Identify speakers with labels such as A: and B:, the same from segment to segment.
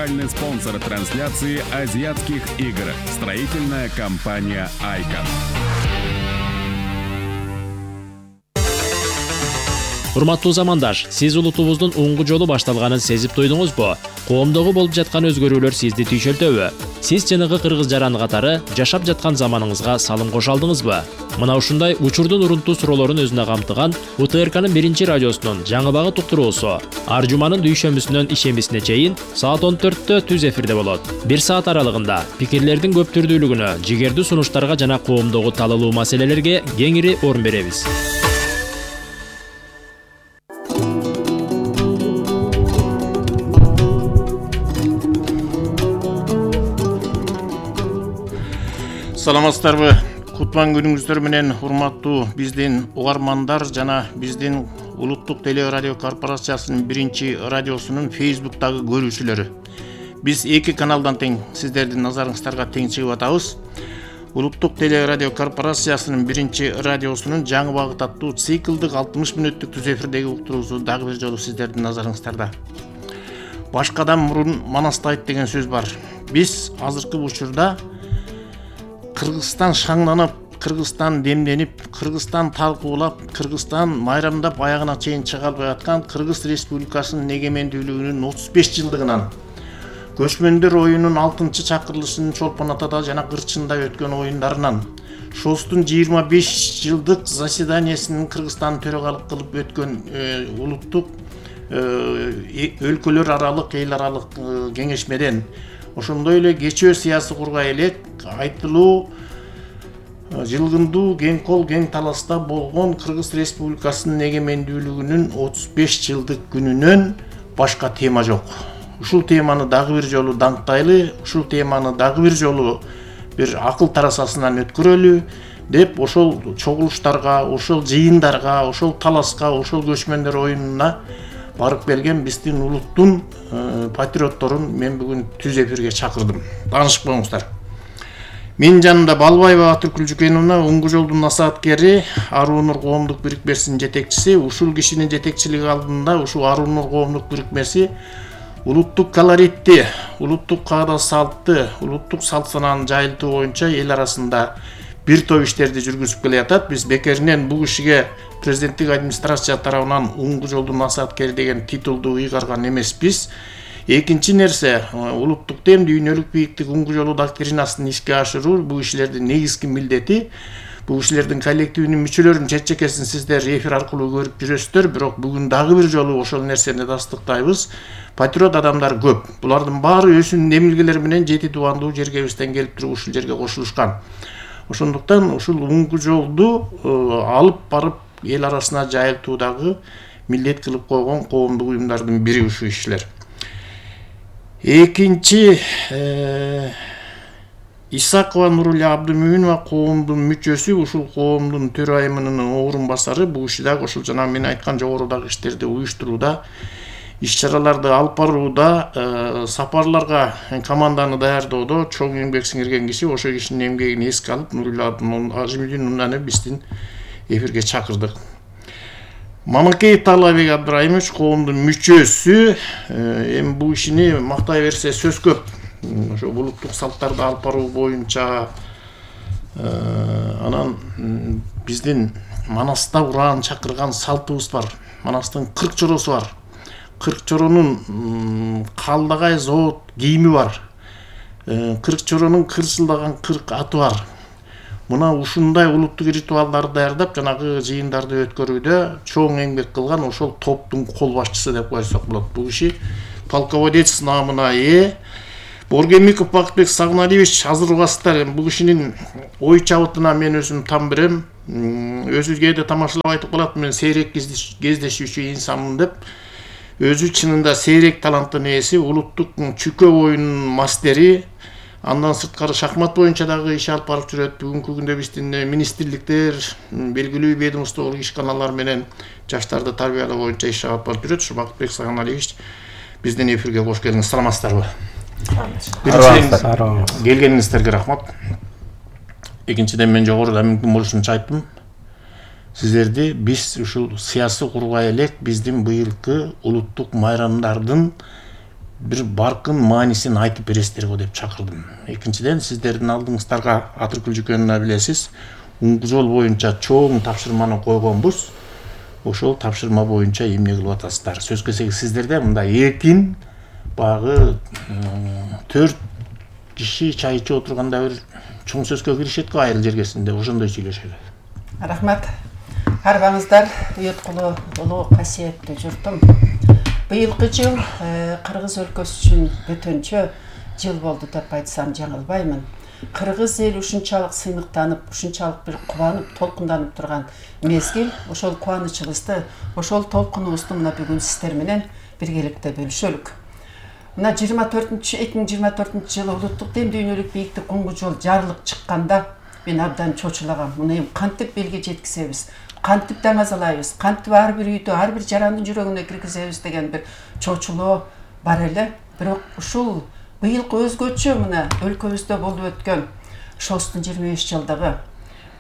A: Генеральный спонсор трансляции азиатских игр. Строительная компания «Айкон».
B: Урматтуу замандаш, сиз улутубуздун уңгу жолу башталганын сезип туйдуңузбу? Коомдогу болуп жаткан өзгөрүүлөр сизди түйшөлтөбү? Сиз жанагы кыргыз жаран катары жашап жаткан заманыңызга салым кошо алдыңызбы? Мына ушундай учурдун урунтуу суроолорун өзүнө камтыган УТРКнын 1-радиосунун жаңы багыт уктуруусу ар жуманын дүйшөмбүсүнөн ишембисине чейин саат 14-тө түз эфирде болот. 1 саат аралыгында пикирлердин көп түрдүүлүгүнө, жигердүү сунуштарга жана коомдогу талалуу маселелерге кеңири орун беребиз.
C: Саламатсыздарбы? Кутман күнүңүздөр менен урматтуу биздин угармандар жана биздин Улуттук телерадио корпорациясынын 1-радиосунун Facebook'тагы көрүүчүлөрү. Биз 2 каналдан тең сиздердин назарыңыздарга тең чыгып атабыз. Улуттук телерадио корпорациясынын 1-радиосунун жаңы багыт аттуу циклдык 60 мүнөттүк түз эфирдеги уктуруусу дагы бир жолу сиздердин назарыңыздарда. Башкадан мурун манастайт деген сөз бар. Биз азыркы учурда Кыргызстан шаңданып, Кыргызстан демденип, Кыргызстан талкуулап, Кыргызстан майрамдап аягына чейин чыга албай аткан Кыргыз Республикасынын эгемендүүлүгүнүн 35 жылдыгынан, көчмөндөр оюнунун 6-чакырылышынын Чолпон Атада жана Кырчында өткөн оюндарынан, ШОСтун 25 жылдык заседаниясынын Кыргызстан төрагалык кылып өткөн улуттук өлкөлөр аралык, эл аралык кеңешмеден, ошондой эле кечөө саясий кургай элек айтылуу жылгындуу кең кол кең таласта болгон Кыргыз Республикасынын эгемендүүлүгүнүн 35 жылдык күнүнөн башка тема жок. Ушул теманы дагы бир жолу даңктайлы, ушул теманы дагы бир жолу бир акыл тарасасынан өткөрөлү деп ошол чогулуштарга, ошол жыйындарга, ошол таласка, ошол көчмөндөр оюнуна барып келген биздин улуттун патриотторун мен бүгүн түз эфирге чакырдым. Таанышып коюңуздар. Менин жанымда Балбаева Атүркүл Жүкеновна, уңгу жолдун насааткери, Аруу Нур коомдук бирикмесинин жетекчиси. Ушул кишинин жетекчилиги алдында ушул Аруу Нур коомдук бирикмеси улуттук колоритти, улуттук каада салтты, улуттук салт санааны жайылтуу боюнча эл арасында бир топ иштерди жүргүзүп келе жатат. Биз бекеринен бул кишиге президенттик администрация тарабынан уңгу жолдун насааткери деген титулду ыйгарган эмеспиз. Экинчи нерсе, улуттук тем, дүйнөлүк бийиктик уңгу жолу доктринасын ишке ашыруу бул кишилердин негизги милдети. Бул кишилердин коллективинин мүчөлөрүнүн чет-чекесин сиздер эфир аркылуу көрүп жүрөсүздөр, бирок бүгүн дагы бир жолу ошол нерсени тастыктайбыз. Патриот адамдар көп. Булардын баары өзүнүн эмилгелери менен жети тубандуу жергебизден келип туруп ушул жерге кошулушкан. Ошондуктан ушул уңгу жолду алып барып эл арасына жайылтуудагы милдет кылып койгон коомдук уюмдардын бири ушул кишилер. Экинчи Исакова Нурулия Абдымүмүнова коомдун мүчөсү, ушул коомдун төрайымынын орун басары. Бул киши дагы ошол жана мен айткан жогорудагы иштерди уюштурууда, иш-чараларды алып барууда, сапарларга команданы даярдоодо чоң эмгек сиңирген киши. Ошол кишинин эмгегин эске алып Нурулия Абдымүмүновнаны биздин эфирге чакырдык. Мамакеев Талабек Абдрайымович коомдун мүчөсү. Эми бул кишини мактай берсе сөз көп. Ошо улуттук салттарды алып баруу боюнча анан биздин Манаста ураан чакырган салтыбыз бар. Манастын 40 чоросу бар. 40 чоронун калдагай завод кийими бар. 40 чоронун кырсылдаган 40 аты бар. Мына ушундай улуттук ритуалдарды даярдап, жанагы жыйындарды өткөрүүдө чоң эмгек кылган ошол топтун кол башчысы деп койсок болот. Бул киши полководец намына ээ. Боргемиков Бакытбек Сагыналиевич, азыр угасыздар, бул кишинин ой чабытына мен өзүм там берем. Өзү кээде тамашалап айтып калат, мен сейрек кездешүүчү инсанмын деп. Өзү чынында сейрек таланттын ээси, улуттук чүкө оюнунун мастери. Андан сырткары шахмат боюнча дагы иш алып барып жүрөт. Бүгүнкү күндө биздин министрликтер, белгилүү ведомстволук ишканалар менен жаштарды тарбиялоо боюнча иш алып барып жүрөт. Ушу Бакытбек Сагыналиевич биздин эфирге кош келиңиз. Саламатсыздарбы? Биринчиден келгениңиздерге рахмат. Экинчиден мен жогоруда мүмкүн болушунча айттым. Сиздерди биз ушул саясий кургай элек биздин быйылкы улуттук майрамдардын бир баркын маанисин айтып бересиздер го деп чакырдым. Экинчиден, сиздердин алдыңыздарга Атыркул Жүкөнүнө билесиз, Уңгу жол боюнча чоң тапшырманы койгонбуз. Ошол тапшырма боюнча эмне кылып атасыздар? Сөз келсе сиздерде мындай эркин багы 4 киши чай ичип отурганда бир чоң сөзгө киришет го айрыл жергесинде, ошондой сүйлөшөлү.
D: Рахмат. Арбаңыздар уюткулуу улуу касиеттүү журтум. Быйылкы жыл Кыргыз өлкөсү үчүн бөтөнчө жыл болду деп айтсам жаңылбаймын. Кыргыз эл ушунчалык сыймыктанып, ушунчалык бир кубанып, толкунданып турган мезгил, ошол кубанычыбызды, ошол толкунубузду мына бүгүн сиздер менен биргеликте бөлүшөлүк. Мына 2024 жылы улуттук дем дүйнөлүк бийиктик Уңгу жол жарылып чыкканда мен абдан чочулагам. Муну эми кантип элге жеткизебиз, кантип даңазалайбыз, кантип ар бир үйдө, ар бир жарандын жүрөгүнө киргизебиз деген бир чочулоо бар эле. Бирок ушул быйылкы өзгөчө мына өлкөбүздө болуп өткөн ШОСтун 25 жылдыгы,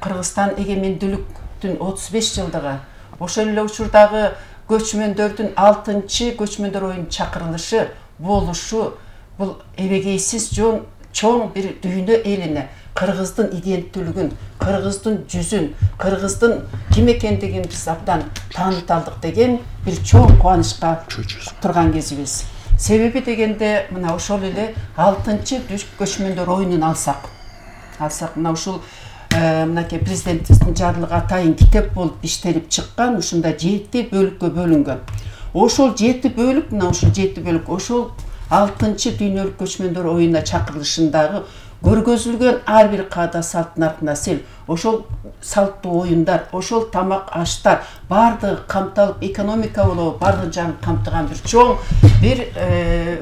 D: Кыргызстан эгемендүүлүктүн 35 жылдыгы, ошол эле учурдагы көчмөндөрдүн 6-чы көчмөндөр оюнунун чакырылышы, болушу, бул эбегейсиз чоң бир дүйнө элине Кыргыздын иденттүүлүгүн, Кыргыздын жүзүн, Кыргыздын ким экендигин биз абдан таанып алдык деген бир чоң кубанычка турган кезибиз. Себеби дегенде мына ошол эле 6-чы көчмөндөр оюнун алсак мына ушул мынакей президентибиздин жарлыгы атайын китеп болуп иштелип чыккан, ушунда 7 бөлүккө бөлүнгөн. Ошол 7 бөлүк, мына ушул 7 бөлүк ошол 6-чы дүйнөлүк көчмөндөр оюнуна чакырылышындагы көргөзүлгөн ар бир каада салт нарк-насил, ошол салттуу оюндар, ошол тамак аштар бардыгы камталып, экономика болобу бардык жагын камтыган бир чоң бир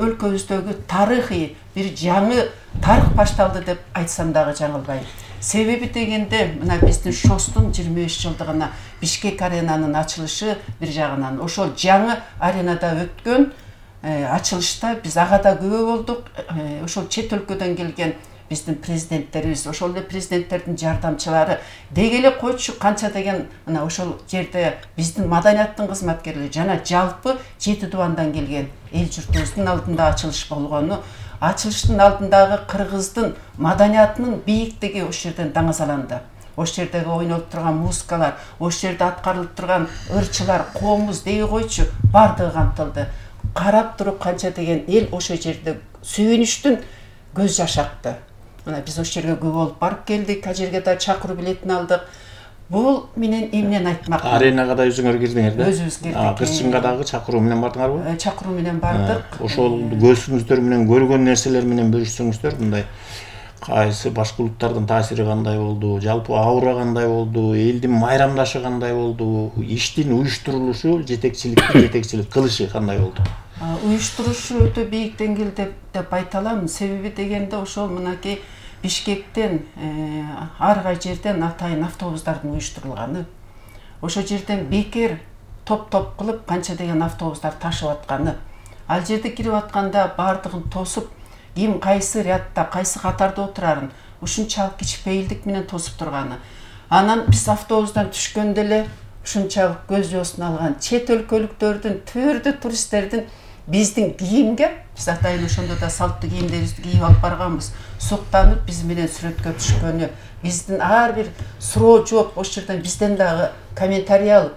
D: өлкөбүздөгү тарыхый бир жаңы тарых башталды деп айтсам дагы жаңылбайм. Себеби дегенде мына биздин ШОСтун 25 жылдыгына Бишкек аренанын ачылышы бир жагынан, ошол жаңы аренада өткөн ачылышта биз ага да күбө болдук. Ошол чет өлкөдөн келген биздин президенттерибиз, ошол эле президенттердин жардамчылары деги эле койчу канча деген мына ошол жерде биздин маданияттын кызматкерлери жана жалпы 7 дубандан келген эл журтубуздун алдында ачылыш болгону, ачылыштын алдындагы Кыргыздын маданиятынын бийиктиги ошол жерден даңазаланды. Ошол жердеги ойнолуп турган музыкалар, ошол жерде аткарылып турган ырчылар, коомуз деги койчу бардыгы камтылды. Карап туруп канча деген эл ошол жерде сүйүнүчтүн көз жаш акты. Мына биз ошол жерге күбө болуп барып келдик, ал жерге да чакыруу билетин алдык. Бул менен эмнени айтмак?
C: Аренага да өзүңөр кирдиңер да?
D: Өзүбүз кирдик.
C: Кырчынга дагы чакыруу менен бардыңарбы?
D: Чакыруу менен бардык.
C: Ошол көзүңүздөр менен көргөн нерселер менен бөлүшсөңүздөр, мындай кайсы башка улуттардын таасири кандай болду, жалпы аура кандай болду, элдин майрамдашы кандай болду, иштин уюштурулушу, жетекчилик кылышы кандай болду?
D: Уюштурушу өтө бийик деңгээлде деп айта алам. Себеби дегенде ошол мынакей Бишкектен ар кай жерден атайын автобустардын уюштурулганы. Ошол жерден бекер топ-топ кылып канча деген автобустар ташып атканы. Ал жерде кирип атканда бардыгын тосуп, ким кайсы рядда, кайсы катарда отурарын ушунчалык кичпейилдик менен тосуп турганы. Анан биз автобустан түшкөндө эле ушунчалык көз жоосун алган чет өлкөлүктөрдүн, түрдүү туристтердин биздин кийимге, биз атайын ошондо да салттуу кийимдерибизди кийип алып барганбыз, суктанып биз менен сүрөткө түшкөнү, биздин ар бир суроо жооп ошол жерден бизден дагы комментарий алып,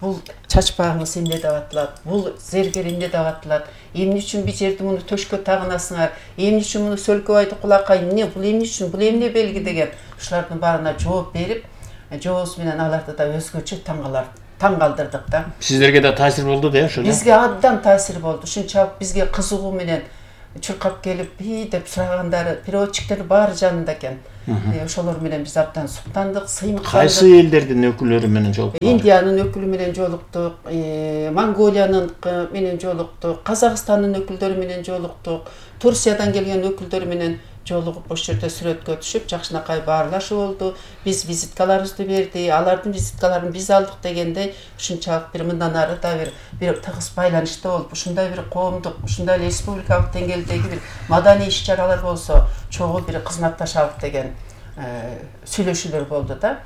D: бул чачпагыңыз эмне деп атылат, бул зергер эмне деп атылат, эмне үчүн бул жерди муну төшкө тагынасыңар, эмне үчүн муну сөлкөбайды кулакка, эмне бул эмне үчүн, бул эмне белги деген ушулардын баарына жооп берип, жообуз менен аларды да өзгөчө таң калтырдык да.
C: Сиздерге да таасир болду да ошо?
D: Бизге абдан таасир болду. Ушунчалык бизге кызыгуу менен чуркап келип, деп сурагандары, переводчиктер баары жанында экен. Ошолор менен биз абдан суктандык, сыймыктандык.
C: Кайсы элдердин өкүлдөрү менен жолуктук?
D: Индиянын өкүлү менен жолуктук, Монголиянын менен жолуктук, Казакстандын өкүлдөрү менен жолуктук, Турциядан келген өкүлдөр менен жолугуп ошол жерде сүрөткө түшүп, жакшынакай баарлашуу болду. Биз визиткаларыбызды берди, алардын визиткаларын биз алдык дегендей, ушунчалык бир мындан ары да бир тыгыз байланышта болуп, ушундай бир коомдук, ушундай эле республикалык деңгээлдеги бир маданий иш-чаралар болсо, чогуу бир кызматташалык деген сүйлөшүүлөр болду да.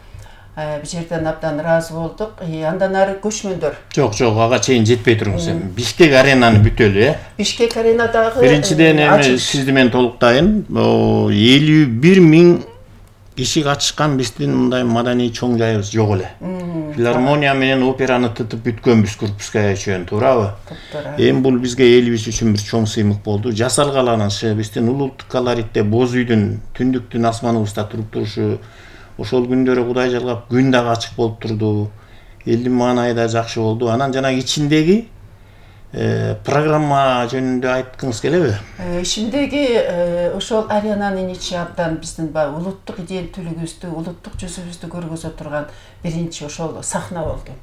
D: Бул жерден абдан ыраазы болдук. Андан ары көчмөндөр.
C: Жок, ага чейин жетпей туруңуз. Бишкек аренаны бүтөлү,
D: Бишкек аренадагы
C: биринчиден сизди мен толуктайын. 51 000 киши катышкан биздин мындай маданий чоң жайыбыз жок эле. Филармония менен операны тытып бүткөнбүз Курбская чейин, туурабы? Эми бул бизге элибиз үчүн бир чоң сыймык болду. Жасалгаланышы, биздин улуттук колоритте боз үйдүн түндүктүн асманыбызда туруп турушу, ошол күндөрү Кудай жалгап күн дагы ачык болуп турду. Элдин маанайы да жакшы болду. Анан жана ичиндеги программа жөнүндө айткыңыз келеби?
D: Ичиндеги ошол аренанын ичи абдан биздин улуттук идентүүлүгүбүздү, улуттук жүзүбүздү көргөзө турган биринчи ошол сахна болду.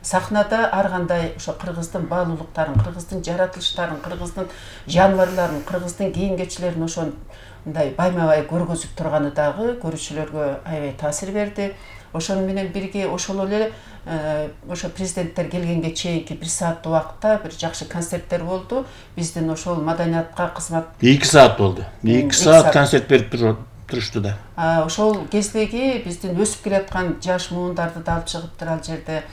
D: Сахнада ар кандай ошо кыргыздын баалуулуктарын, кыргыздын жаратылыштарын, кыргыздын жаныбарларын, кыргыздын кийим-кечилерин ошо мындай байма-бай көргөзүп турганы дагы көрүүчүлөргө аябай таасир берди. Ошону менен бирге ошол эле ошо президенттер келгенге чейинки 1 сааттык убакытта бир жакшы концерттер болду. Биздин ошол маданиятка кызмат
C: 2 саат болду. 2 саат концерт берип турушту да.
D: Ошол кездеги биздин өсүп келаткан жаш муундарды да алып чыгыптыр ал жерде.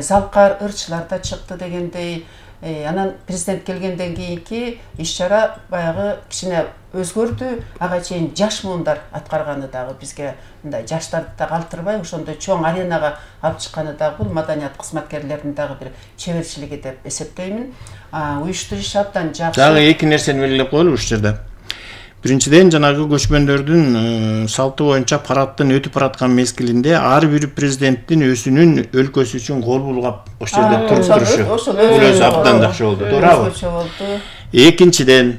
D: Залкар ырчылар да чыкты дегендей. Анан президент келгенден кийинки иш-чара баягы кичине өзгөрдү. Ага чейин жаш муундар аткарганы дагы бизге мындай жаштарды да калтырбай ошондой чоң аренага алып чыкканы дагы бул маданият кызматкерлеринин дагы бир чеберчилиги деп эсептеймин. Уюштуруш абдан жакшы.
C: Дагы эки нерсени белгилеп коелу ушул жерде. Биринчиден жанагы көчмөндөрдүн салты боюнча парадтын өтүп бараткан мезгилинде ар бир президенттин өзүнүн өлкөсү үчүн кол булгап ошол жерде туруп турушу. Бул өзү абдан жакшы болду, туурабы? Экинчиден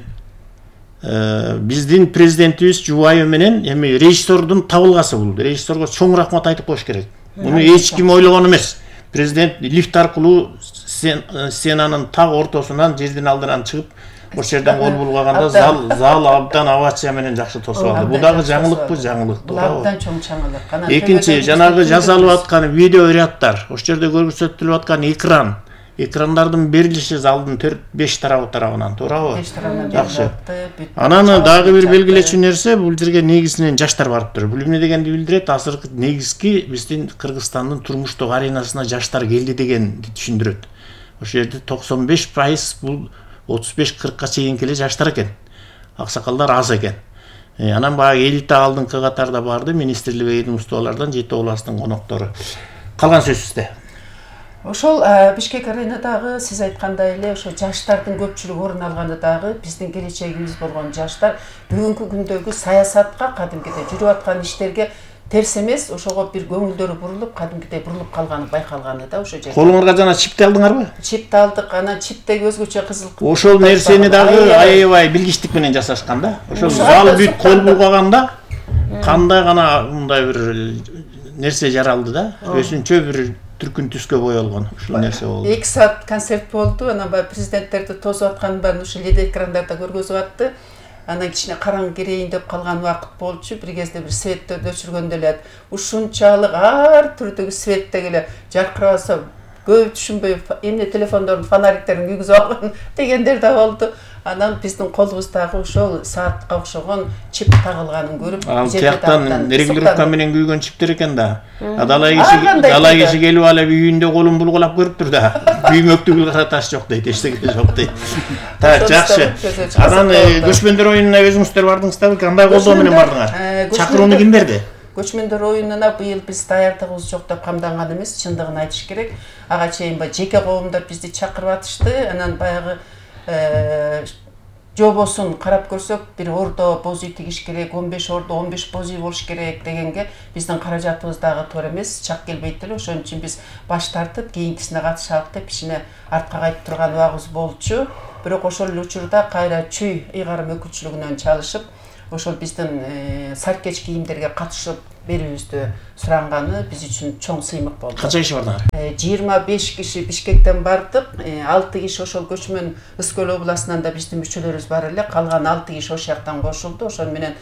C: биздин президентибиз жубайы менен эми режиссердун табылгасы бул. Режиссерго чоң рахмат айтып коюш керек. Муну эч ким ойлогон эмес. Президент лифт аркылуу сценанын так ортосунан жердин алдынан чыгып ошол жерден кол булгаганда зал абдан овация менен жакшы тосуп алды. Бул дагы жаңылыкпы, жаңылык.
D: Бул абдан чоң жаңылык.
C: Экинчи, жанагы жасалып аткан видео ряддар, ошол жерде көрсөтүлүп аткан экрандардын берилиши залдын 4-5 тарабынан, туурабы?
D: 5 тарабынан
C: жакшы. Анан дагы бир белгилечү нерсе, бул жерге негизинен жаштар барыптыр. Бул эмне дегенди билдирет? Азыркы негизги биздин Кыргызстандын турмуштук аренасына жаштар келди дегенди түшүндүрөт. Ошол жерде 95% бул 35-40ка чейинки эле жаштар экен. Аксакалдар аз экен. Анан баягы элита алдыңкы катарда барды, министрлик ведомстволордон жети областтын коноктору. Калган сөз сизде.
D: Ошол Бишкек аренадагы сиз айткандай эле ошо жаштардын көпчүлүгү орун алганы дагы биздин келечегибиз болгон жаштар бүгүнкү күндөгү саясатка, кадимкидей жүрүп аткан иштерге терс эмес, ошого бир көңүлдөрү бурулуп, кадимкидей бурулуп калганы байкалганы да ошо жерде.
C: Колуңарга жана чипти алдыңарбы?
D: Чипти алдык, анан чиптеги өзгөчө кызыл.
C: Ошол нерсени дагы аябай билгичтик менен жасашкан да. Ошол зал бүт кол булгаганда кандай гана мындай бир нерсе жаралды да. Өзүнчө бир түркүн түскө боелгон ушул нерсе болду.
D: 2 саат концерт болду. Анан баягы президенттерди тосуп атканын баарын ушул LED экрандарда көргөзүп атты. Анан кичине караңгы кирейин деп калган убакыт болчу. Бир кезде бир светтерди өчүргөндө эле ушунчалык ар түрдөгү светтеги эле жаркырабаса көп түшүнбөй эмне телефондордун фонариктерин күйгүзүп алган дегендер да болду. Анан биздин колубуздагы ошол саатка окшогон чип тагылганын көрүп,
C: ал тияктан регулировка менен күйгөн чиптер экен да. Далай киши келип алып үйүндө колун булгулап көрүптүр да. Күймөктүгү караташ жок дейт, эчтеке жок дейт. Так, жакшы. Анан көчмөндөр оюнуна өзүңүздөр бардыңыздарбы? Кандай колдоо менен бардыңар? Чакырууну ким берди?
D: Көчмөндөр оюнуна быйыл биз даярдыгыбыз жок деп камданган эмес, чындыгын айтыш керек. Ага чейин жеке коомдор бизди чакырып атышты. Анан баягы жобосун карап көрсөк, бир ордо боз үй тигиш керек, 15 ордо 15 боз үй болуш керек дегенге биздин каражатыбыз дагы туура эмес, чак келбейт эле. Ошон үчүн биз баш тартып, кийинкисине катышалык деп кичине артка кайтып турган убагыбыз болчу. Бирок ошол эле учурда кайра чүй ыйгарым өкүлчүлүгүнөн чалышып, ошол биздин саркеч кийимдерге катышып берүүбүздү суранганы биз үчүн чоң сыймык болду.
C: Канча киши бардыңар?
D: 25 киши Бишкектен бардык, 6 киши ошол көчмөн Ыскөл областынан да биздин мүчөлөрүбүз бар эле, калган 6 киши ошол жактан кошулду. Ошол менен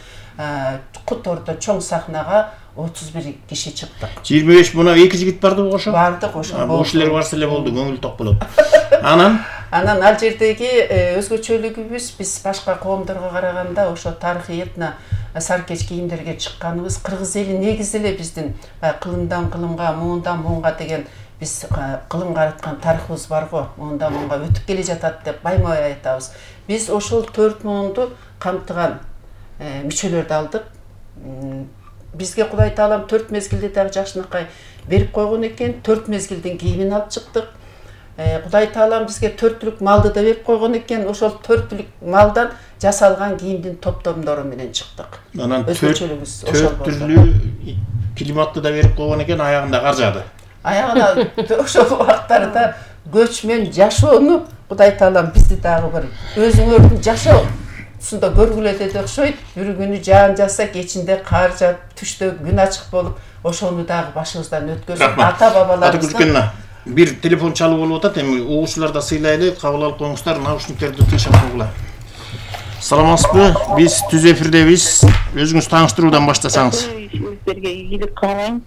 D: Кутордо чоң сахнага 31 киши чыктык.
C: 25 мына 2 жигит бардыбы ошо?
D: Бардык ошо.
C: Ошолор барса эле болду, көңүл ток болот. Анан
D: Анан ал жердеги өзгөчөлүгүбүз биз башка коомдорго караганда ошо тарыхый этно саркеч кийимдерге чыкканыбыз кыргыз эли негизи эле биздин кылымдан кылымга, муундан муунга деген биз кылым караткан тарыхыбыз барго, муундан муунга өтүп келе жатат деп байма-бай айтабыз. Биз ошол 4 муунду камтыган мүчөлөрдү алдык. Бизге Кудай Таалам 4 мезгилде дагы жакшынакай берип койгон экен. 4 мезгилдин кийимин алып чыктык. Кудай Таалам бизге 4 түлүк малды да берип койгон экен. Ошол 4 түлүк малдан жасалган кийимдин топтомдору менен чыктык.
C: Анан 4 түрлүү климатты да берип койгон экен, аягында кар жаады.
D: Аягына ошол убактарда көчмөн жашоону Кудай Таалам бизди дагы бир өзүңөрдүн жашоо суда көргүлө деп окшойт. Бир күнү жаан жаса, кечинде кар жаап, түштө күн ачык болуп, ошону дагы башыбыздан өткөзүп, ата-бабаларыбыздан
C: бир телефон чалуу болуп атат. Эми угуучулар да сыйлайлы, кабыл алып коюңуздар, наушниктерди тынчап койгула. Саламатсызбы? Биз түз эфирдебиз. Өзүңүз тааныштыруудан баштасаңыз.
E: Сиздерге ийгилик каалайм.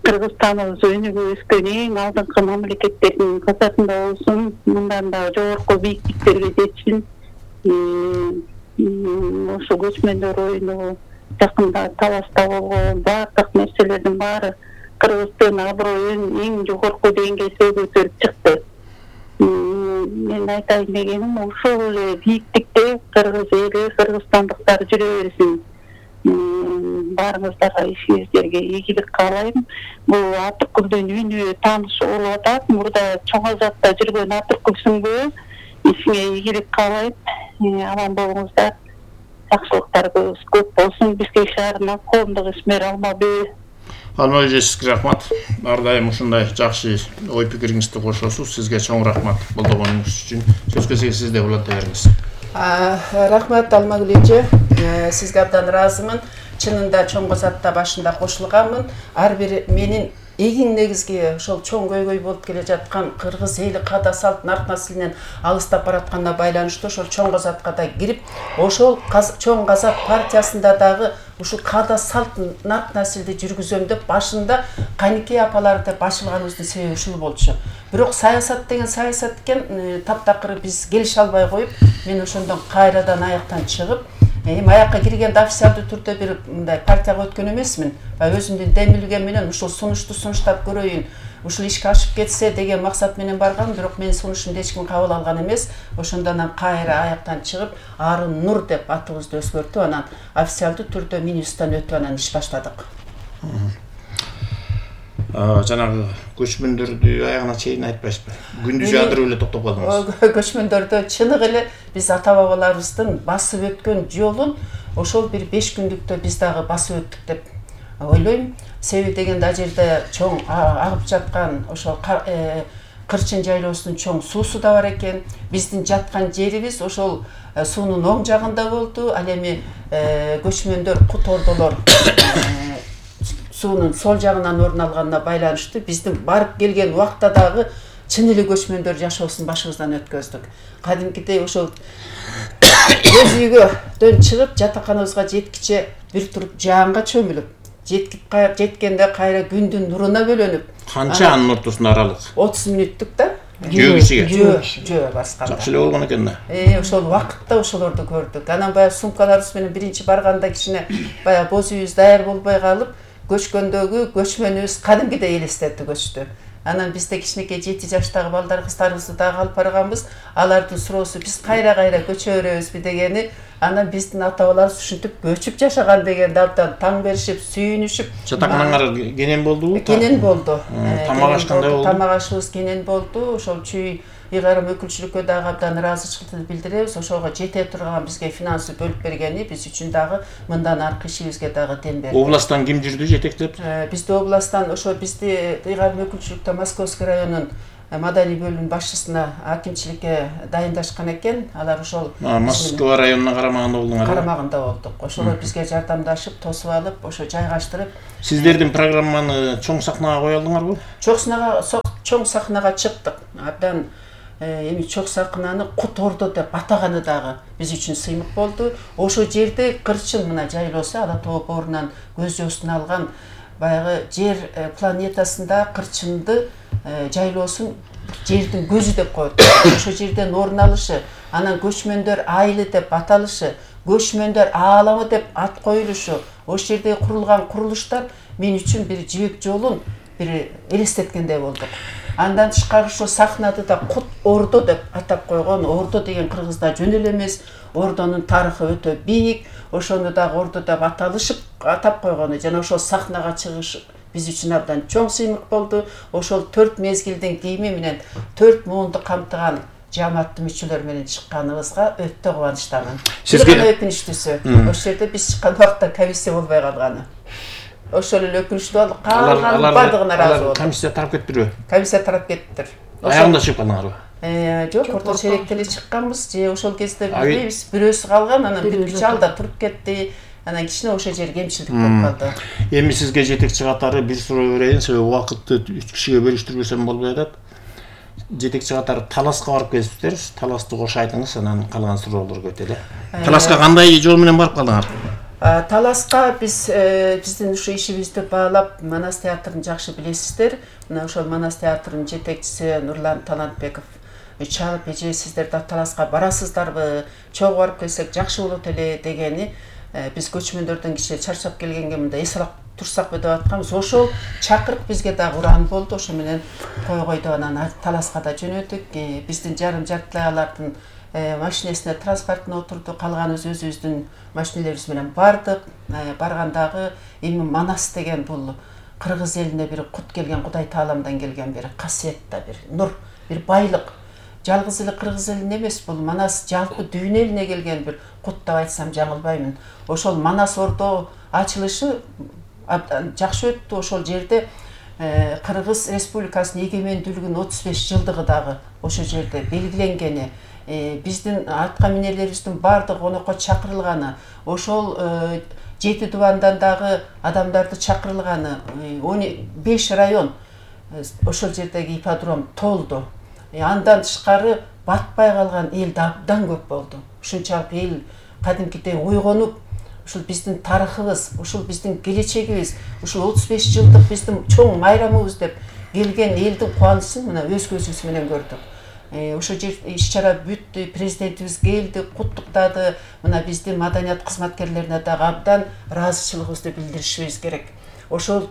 E: Кыргызстаныбыз өнүгүп өскөн эң алдыңкы мамлекеттердин катарында болсун, мындан да жогорку бийиктиктерге жетсин. Ошо көчмөндөр оюну жакында Таласта болгон баардык нерселердин баары Кыргыздын аброюн эң жогорку деңгээлге көтөрүп чыкты. Мен айтайын дегеним ошол эле бийиктикте кыргыз эли, кыргызстандыктар жүрө берсин. Баарыңыздарга ишиңиздерге ийгилик каалайм. Бул Атыркүлдүн үнү тааныш болуп атат. Мурда Чоң Азатта жүргөн Атыркүл сүңгү. Ишиңе ийгилик каалайм. Аман болуңуздар. Жакшылыктарыбыз көп болсун. Бизге шаарына коомдук ишмер Алмабүй.
C: Алмабүй эжесизге рахмат. Ар дайым ушундай жакшы ой пикириңизди кошосуз. Сизге чоң рахмат колдогонуңуз үчүн. Сөз кезеги сизде уланта бериңиз.
D: Рахмат Алмагүл эже. Сизге абдан ыраазымын. Чынында Чоң Азатта башында кошулганмын. Ар бир менин эң негизги ошол чоң көйгөй болуп келе жаткан кыргыз эли каада салт нарт наслинен алыстап баратканына байланыштуу ошол Чоң Азатка да кирип, ошол Чоң Азат партиясында дагы ушул каада салт нарт наслди жүргүзөм деп башында Каникей апалар деп башылганыбыздын себеби ушул болчу. Бирок саясат деген саясат экен, таптакыры биз келише албай коюп, мен ошондон кайрадан аяктан чыгып, аякка киргенде официалдуу түрдө бир мындай партияга өткөн эмесмин. Өзүмдүн демилгем менен ушул сунушту сунуштап көрөйүн, ушул ишке ашып кетсе деген максат менен баргам, бирок менин сунушумду эч ким кабыл алган эмес. Ошондон кайра аяктан чыгып, Арын Нур деп атыбызды өзгөртүп, анан официалдуу түрдө минибустан өтүп анан иш баштадык.
C: Жанагы көчмөндөрдү аягына чейин айтпайсызбы? Күндү жаадырып эле токтоп калдыңыз.
D: Көчмөндөрдө чыныгы эле биз ата-бабаларыбыздын басып өткөн жолун ошол бир 5 күндүктө биз дагы басып өттүк деп ойлойм. Себеби дегенде ал жерде чоң агып жаткан ошол Кырчын жайлоосунун чоң суусу да бар экен. Биздин жаткан жерибиз ошол суунун оң жагында болду. Ал эми көчмөндөр, кут ордолор суунун сол жагынан орун алганына байланыштуу биздин барып келген убакта дагы чын эле көчмөндөр жашоосун башыбыздан өткөздүк. Кадимкидей ошол өз үйгөдөн чыгып жатаканыбызга жеткиче бир туруп жаанга чөмүлүп, жеткенде кайра күндүн нуруна бөлөнүп.
C: Канча анын ортосунда аралык?
D: 30 мүнөттүк да.
C: Жөө кишиге.
D: Жөө басканда.
C: Жакшы эле болгон экен да.
D: Ошол убакытта ошолорду көрдүк. Анан баягы сумкаларыбыз менен биринчи барганда кичине баягы боз үйүбүз даяр болбой калып, көчкөндөгү көчмөнүбүз кадимкидей элестетти көчтү. Анан бизде кичинекей 7 жаштагы балдар кыздарыбызды дагы алып барганбыз. Алардын суроосу биз кайра көчө беребизби дегени, анан биздин ата-бабаларыбыз ушинтип көчүп жашаган дегенде абдан таң беришип, сүйүнүшүп.
C: Жатаканаңар кенен болдубу?
D: Кенен болду.
C: Тамак аш кандай болду?
D: Тамак ашыбыз кенен болду. Ошол чүй ыйгарым өкүлчүлүккө дагы абдан ыраазычылык билдиребиз. Ошого жете турган бизге финансы бөлүп бергени биз үчүн дагы мындан аркы ишибизге дагы дем берди.
C: Областтан ким жүрдү жетектеп?
D: Бизди областтан ошо бизди ыйгарым өкүлчүлүктө Московский районунун маданий бөлүмүнүн башчысына акимчиликке дайындашкан экен. Алар ошол
C: Москва районуна карамагында болдуңар.
D: Карамагында болдук. Ошолор бизге жардамдашып, тосуп алып, ошо жайгаштырып.
C: Сиздердин программаны чоң сахнага кое алдыңарбы?
D: Чоң сахнага чыктык. Абдан эми чоң сахнаны Кут Ордо деп атаганы дагы биз үчүн сыймык болду. Ошо жерде Кырчын мына жайлоосу Ала тоо боорунан көз жоосуна алган баягы жер планетасында Кырчынды жайлоосун жердин көзү деп коет. Ошо жерден орун алышы, анан көчмөндөр айылы деп аталышы, көчмөндөр ааламы деп ат коюлушу, ошол жерде курулган курулуштар мен үчүн бир жибек жолун бир элестеткендей болдук. Андан тышкары ошо сахнада да Кут Ордо деп атап койгон. Ордо деген кыргызда жөн эле эмес, Ордонун тарыхы өтө бийик. Ошону дагы Ордо деп атап койгону жана ошол сахнага чыгыш биз үчүн абдан чоң сыймык болду. Ошол 4 мезгилдин кийими менен 4 муунду камтыган жамааттын мүчөлөрү менен чыкканыбызга өтө кубанычтамын. Сизге өкүнүчтүүсү, ошол жерде биз чыккан убакта комиссия болбой калганы. Ошол эле өкүнүчтүү болду. Калган бардыгына ыраазы болду.
C: Комиссия тарап кетпирби?
D: Комиссия тарап кеттир.
C: Аягында чыгып калдыңарбы?
D: Жок, орто черекте эле чыкканбыз. Же ошол кезде билбейбиз, бирөөсү калган, анан бир алда туруп кетти. Анан кичине ошол жер кемчилдик болуп калды.
C: Эми сизге жетекчи катары бир суроо берейин, себеби убакытты 3 кишиге бөлүштүрбөсөм болбой атат. Жетекчи катары Таласка барып келипсиздер. Таласты кошо айтыңыз, анан калган суроолорго өтөлү. Таласка кандай жол менен барып калдыңар?
D: Таласка биздин ушу ишибизди баалап Манас театрын жакшы билесиздер. Мына ошол Манас театрынын жетекчиси Нурлан Талантбеков чалып, эже сиздер да Таласка барасыздарбы? Чогуу барып келсек жакшы болот эле дегени. Биз көчмөндөрдөн кичине чарчап келгенге мында эс алып турсакпы деп атканбыз. Ошол чакырык бизге да уран болду. Ошо менен койгойду, анан Таласка да жөнөдүк. Биздин жартылай алардын машинесине транспортуна отурду, калганыбыз өзүбүздүн машинелерибиз менен бардык. Баргандагы эми Манас деген бул кыргыз элине бир кут келген, Кудай Тааламдан келген бир касиетта бир нур, бир байлык. Жалгыз эле кыргыз элине эмес, бул Манас жалпы дүйнө элине келген бир кут деп айтсам жаңылбаймын. Ошол Манас Ордо ачылышы жакшы өттү. Ошол жерде Кыргыз Республикасынын эгемендүүлүгүнүн 35 жылдыгы дагы ошол жерде белгиленгени, биздин атка минелерибиздин баардыгы конокко чакырылганы, ошол 7 дубандан дагы адамдарды чакырылганы, 5 район ошол жердеги ипподром толду. Андан тышкары батпай калган эл абдан көп болду. Ушунчалык эл кадимкидей ойгонуп, ушул биздин тарыхыбыз, ушул биздин келечегибиз, ушул 35 жылдык биздин чоң майрамыбыз деп келген элдин кубанычын мына өз көзүбүз менен көрдүк. Ошо жер иш-чара бүттү, президентибиз келди, куттуктады. Мына биздин маданият кызматкерлерине дагы абдан ыраазычылыгыбызды билдиришибиз керек. Ошол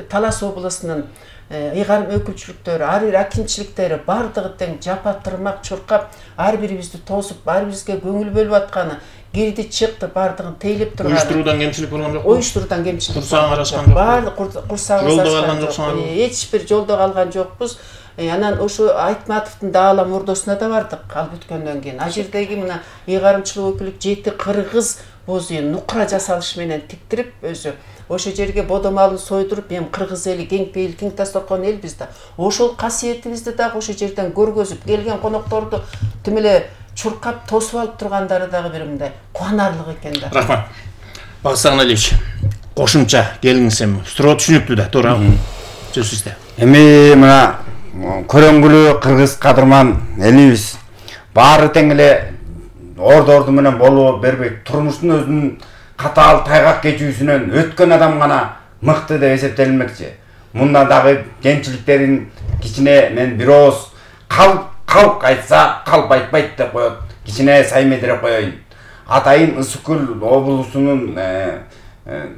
D: Талас облусунун ыйгарым өкүлчүлүктөрү, ар бир акимчиликтери бардыгы тең жапа тырмак чуркап, ар бирибизди тосуп, ар бирибизге көңүл бөлүп атканы, кирди чыкты, бардыгын тейлеп турган.
C: Уюштуруудан кемчилик болгон жокпу?
D: Уюштуруудан кемчилик.
C: Курсагың арашкан жокпу?
D: Баардык курсагыбыз арашкан жок. Эч бир жолдо калган жокпуз. Анан ошо Айтматовдун Даалам Ордосуна да бардык ал бүткөндөн кийин. Ал жердеги мына ыйгарымчылык өкүлүк 7 кыргыз бозуйун нукра жасалыш менен тиктирип өзү ошо жерге бодомалын сойдуруп, эми кыргыз эли кең пейил, кең дасторкон элбиз да. Ошол касиетибизди дагы ошо жерден көргөзүп, келген конокторду тим эле чуркап тосуп алып тургандары дагы бир мындай кубанарлык экен да.
C: Рахмат. Багытсагын Алиевич, кошумча келиңиз эми. Суроо түшүнүктүү да, туура. Сөз сизде.
F: Эми мына көрөңгүлүү кыргыз кадырман элибиз баары тең эле орду менен боло бербейт. Турмуштун өзүнүн катаал тайгак кечүүсүнөн өткөн адам гана мыкты деп эсептелмекчи. Мында дагы кемчиликтерин кичине мен бир ооз калк айтса калп айтпайт деп коет. Кичине саймедире коеюн. Атайын Ысыккөл облусунун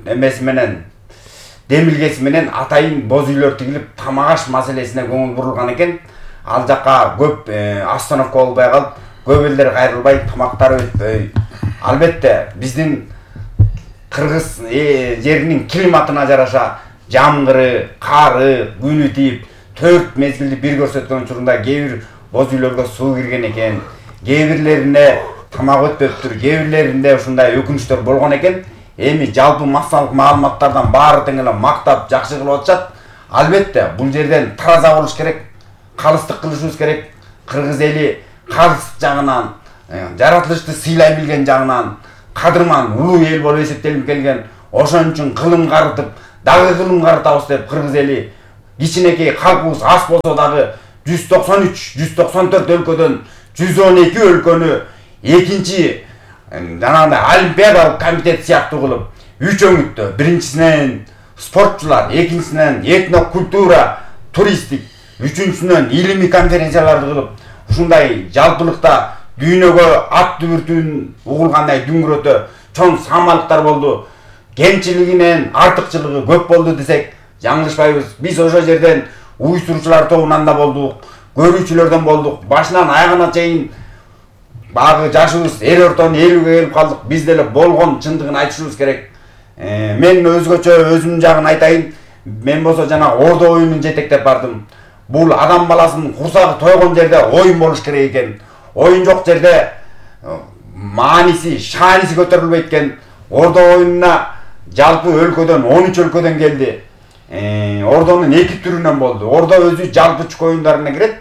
F: эмеси менен демилгеси менен атайын боз үйлөр тигилип, тамак аш маселесине көңүл бурулган экен. Ал жакка көп остановка болбой калып, көп элдер кайрылбай, тамактары өтпөй. Албетте биздин кыргыз жеринин климатына жараша жамгыры, кары, күнү тийип, 4 мезгилди бир көрсөткөн учурунда кээ бир боз үйлөргө суу кирген экен. Кээ бирлерине тамак өтпөптүр, кээ бирлеринде ушундай өкүнүчтөр болгон экен. Эми жалпы массалык маалыматтардан баары тең эле мактап жакшы кылып атышат. Албетте бул жерден тараза болуш керек, калыстык кылышыбыз керек. Кыргыз эли калыстык жагынан, жаратылышты сыйлай билген жагынан кадырман улуу эл болуп эсептелип келген. Ошон үчүн кылым карытып, дагы кылым карытабыз деп кыргыз эли кичинекей калкыбыз аз болсо дагы 193-194 өлкөдөн 112 өлкөнү экинчи жанагындай олимпиадалык комитет сыяктуу кылып 3 өңүттө, биринчисинен спортчулар, экинчисинен этно культура, туристтик үчүнчүсүнөн илимий конференцияларды кылып, ушундай жалпылыкта дүйнөгө ат дүбүртүүн угулгандай дүңгүрөтө чоң самалыктар болду. Кемчилигинен артыкчылыгы көп болду десек жаңылышпайбыз. Биз ошол жерден уюштуруучулар тобунан да болдук, көрүүчүлөрдөн болдук. Башынан аягына чейин багы жашыбыз эл ортонун элүүгө келип калдык. Биз деле болгон чындыгын айтышыбыз керек. Мен өзгөчө өзүмдүн жагын айтайын. Мен болсо жана Ордо оюнун жетектеп бардым. Бул адам баласынын курсагы тойгон жерде оюн болуш керек экен. Оюн жок жерде мааниси, шааниси көтөрүлбөйт экен. Ордо оюнуна жалпы өлкөдөн 13 өлкөдөн келди. Ордонун 2 түрүнөн болду. Ордо өзү жалпы чүк оюндарына кирет.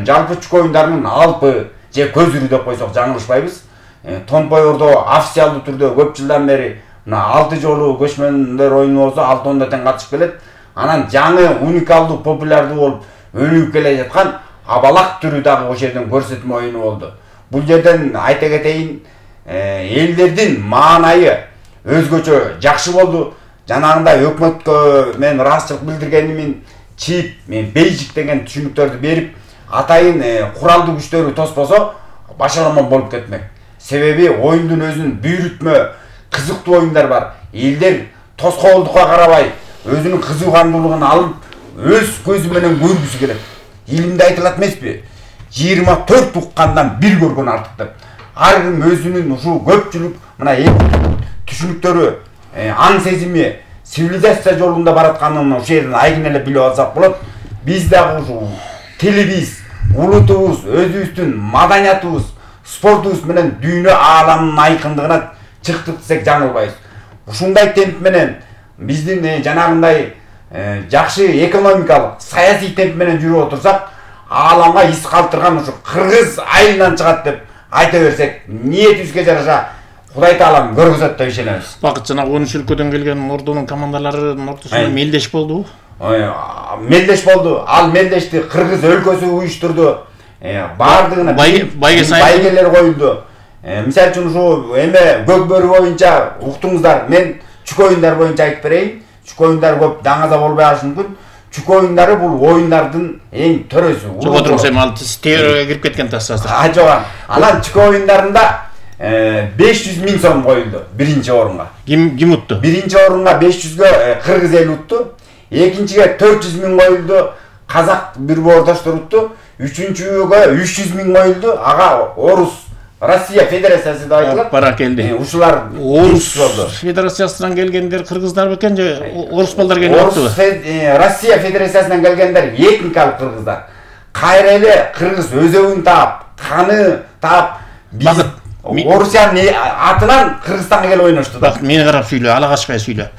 F: Жалпы чүк оюндарынын алпы же көзүрү деп койсок жаңылышпайбыз. Томпой Ордо официалдуу түрдө көп жылдан бери 6 жолу көчмөндөр оюну болсо 6 тең катышып келет. Анан жаңы уникалдуу популярдуу болуп өнүгүп келе жаткан абалак түрү дагы ошол жерден көрсөтмө оюну болду. Бул жерден айта кетейин, элдердин маанайы өзгөчө жакшы болду. Жанагындай өкмөткө мен ыраазычылык билдиргенимин, чип, мен бейжик деген түшүнүктөрдү берип, атайын куралдуу күчтөрү тоспосо башаламан болуп кетмек. Себеби оюндун өзүнүн бүйрүтмө, кызыктуу оюндар бар. Элдер тоскоолдукка карабай, өзүнүн кызыгандуулугун алып, өз көзү менен көргүсү келет. Илимде айтылат эмеспи? 24 уккандан бир көргөн артык деп. Ар ким өзүнүн ушул көпчүлүк мына түшүнүктөрү, аң сезими, цивилизация жолунда баратканын ошол жерден айкын эле билип алсак болот. Биз дагы ушул тилибиз, улутубуз, өзүбүздүн маданиятыбыз, спортубуз менен дүйнө ааламынын айкындыгына чыктык десек жаңылбайбыз. Ушундай темп менен биздин жанагындай жакшы экономикалык, саясий темп менен жүрүп отурсак, ааламга из калтырган ушу кыргыз айылынан чыгат деп айта берсек, ниетибизге жараша Кудай таалам көргөзөт деп ишенебиз.
C: Багыт жана 13 өлкөдөн келген Ордонун командаларынын ортосунда мелдеш болду.
F: Мелдеш болду. Ал мелдешти кыргыз өлкөсү уюштурду. Бардыгына байгелер коюлду. Мисалы үчүн ушу эме көкбөрү боюнча уктуңуздар, мен чүк оюндар боюнча айтып берейин. Чүк оюндар көп даңаза болбой калышы мүмкүн. Чүк оюндары бул оюндардын эң төрөсү.
C: Жок отуруңуз, эми ал теорияга кирип кеткен тасасыр.
F: Жок. Анан чүк оюндарында 500 000 сом коюлду биринчи орунга.
C: Ким утту?
F: Биринчи орунга 500гө кыргыз эл утту. Экинчиге 400 000 коюлду, казак бир боордоштор утту. Үчүнчүгө 300 000 коюлду. Ага Орус Россия Федерациясы деп айтылат.
C: Бара келди.
F: Ушулар
C: Орус Федерациясынан келгендер кыргыздар бекен же орус балдар келиптиби?
F: Россия Федерациясынан келгендер этникалык кыргыздар. Кайра эле кыргыз өзөгүн таап, каны таап,
C: Багыт
F: Орусиянын атынан Кыргызстанга келип ойношту да.
C: Мени карап сүйлө, ала качпай сүйлө.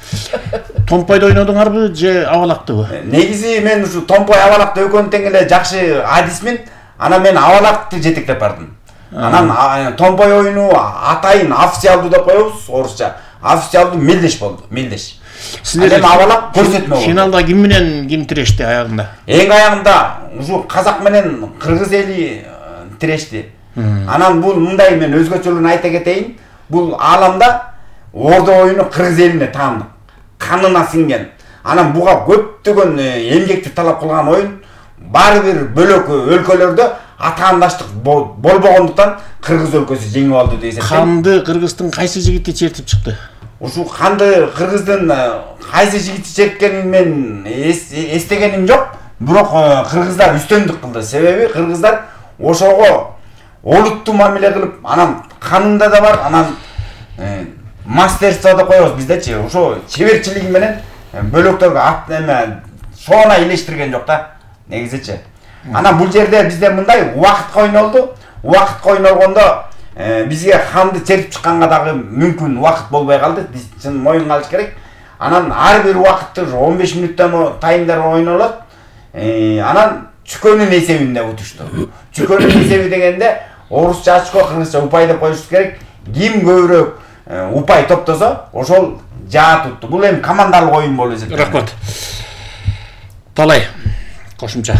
C: Томпойдо ойнодуңарбы же абалактыбы?
F: Негизи мен ушу Томпой абалакты экөөнү тең эле жакшы адисмин. Анан мен абалакты жетектеп бардым. Анан Томпой оюну атайын официалдуу деп коебуз, орусча. Официалдуу мелдеш болду, мелдеш.
C: Силер
F: абалак көрсөтмө болду.
C: Финалда ким менен ким тирешти аягында?
F: Эң аягында ушу казак менен кыргыз эли тирешти. Анан бул мындай мен өзгөчөлүгүн айта кетейин. Бул ааламда Ордо оюну кыргыз элине таандык. Канына сиңген. Анан буга көптөгөн эмгекти талап кылган оюн. Баары бир бөлөк өлкөлөрдө атаандаштык болбогондуктан кыргыз өлкөсү жеңип алды деп эсептейм.
C: Канды кыргыздын кайсы жигити чертип чыкты?
F: Ушу канды кыргыздын кайсы жигити черткенин мен эстегеним жок. Бирок кыргыздар үстөмдүк кылды. Себеби кыргыздар ошого олуттуу мамиле кылып, анан канында да бар, анан мастерство деп коебуз биздечи. Ошо чеберчилиги менен бөлөктөргө ат эме соона илештирген жок да, негизичи. Анан бул жерде бизде мындай убакытка ойнолду. Убакытка ойнолгондо бизге канды чертип чыкканга дагы мүмкүн убакыт болбой калды. Биз чын моюнга алыш керек. Анан ар бир убакытты 15 мүнөттөн таймдар ойнолот. Анан чүкөнүн эсебинде утушту. Чүкөнүн эсеби дегенде орусча очко, кыргызча упай деп коюш керек. Ким көбүрөөк упай топтосо, ошол жаа тутту. Бул эми командалык оюн болуп эсептелет.
C: Рахмат. Талай кошумча